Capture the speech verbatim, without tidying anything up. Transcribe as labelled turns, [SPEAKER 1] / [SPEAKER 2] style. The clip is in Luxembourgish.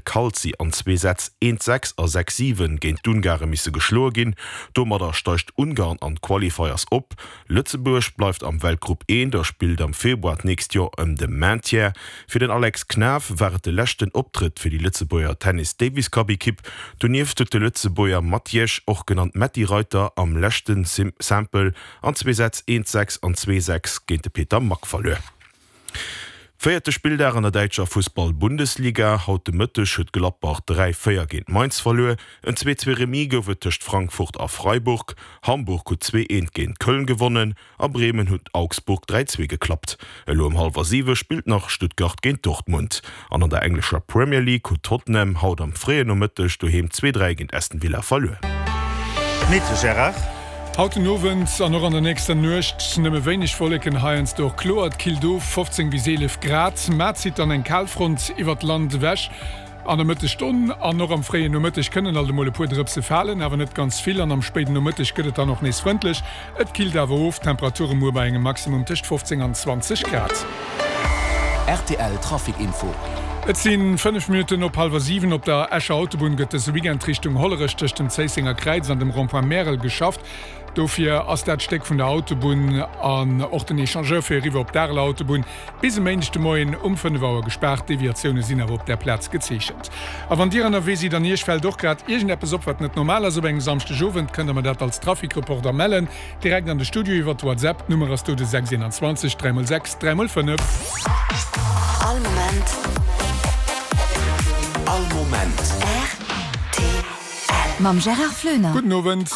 [SPEAKER 1] Calzi an zwee Sätz eent sechs a sechs siwen géint d'Ungare misse geschloe ginn. Domadder steigt Ungarn an d'Qualifiers op. Lëtzebuerg bleift am Weltgrupp eent a spillt am Februar d'nächst Joer ëm de Maintien. Fir den Alex Knaff war et de leschten Optrëtt fir déi Lëtzebuerger Tennis-Davis-Cup-Ekipp. Donieft huet de Lëtzebuerger Matjesch, och genannt Metty Reiter, am leschte Simple an zwee Sätz eent sechs an zwee sechs géint de Peter Mack verluer. Véierte Spilldag an der däitscher Fussball-Bundesliga, Haut de Mëtteg huet Gladbach dräi véier géint Mainz verluer. En zwee zwee Remis gouf et tëscht Frankfurt a Freiburg. Hamburg huet zwee eent géint Köln gewonnen a Bremen huet Augsburg dräi zwee geklappt. Elo ëm hallwer siwe spillt nach Stuttgart géint Dortmund. An an der englescher Premier League huet Tottenham haut am fréien Nomëtteg doheem zwee dräi géint Aston Villa verluer.
[SPEAKER 2] Metejo Gérard.
[SPEAKER 3] Haut den Owend an och an der nächster Nuecht nëmme wéineg Wolleken, heiansdo och kloer. Et killt of, fofzéng bis eelef Grad. Mar zitt dann eng Kalfront iwwert d'Land ewech. An der Mëttesstonn an och am fréien Nomëtteg kënnen alt emol e puer Drëpse falen, awer net ganz vill. An am spéiden Nomëtteg gëtt et dann och nees frëndlech. Et killt awer of, Temperature muer bei engem Maximum tëscht fofzéng an zwanzeg Grad.
[SPEAKER 4] Rtl Trafic Info.
[SPEAKER 3] Et si fënnef Minutten op hallwer siwen. Op der Escher Autobunn gëtt dëse Weekend Richtung Hollerech tëscht dem Zéissenger Kräiz an dem Rond-point Märel geschafft. Dofir ass dat Stéck vun der Autobunn an och den Echangeur fir eriwwer op d'Areler Autobunn bis e Méindeg de Moien um fënnef Auer gespaart. Deviatioune sinn awer op där Plaz gezeechent. A wann Dir ënnerwee sidd an Iech fält och grad iergendeppes op, wat net normal ass op engem Samschdegowend, kënnt Der mer dat als Trafic-Reporter mellen, direkt an de Studio iwwert WhatsApp. D'Nummer ass do de sechs eenanzwanzeg dräi mol sechs dräi mol fënnef.
[SPEAKER 5] All Moment.
[SPEAKER 4] All Moment.
[SPEAKER 5] Rtl. Mam Gérard Floener.
[SPEAKER 3] Gudden Owend.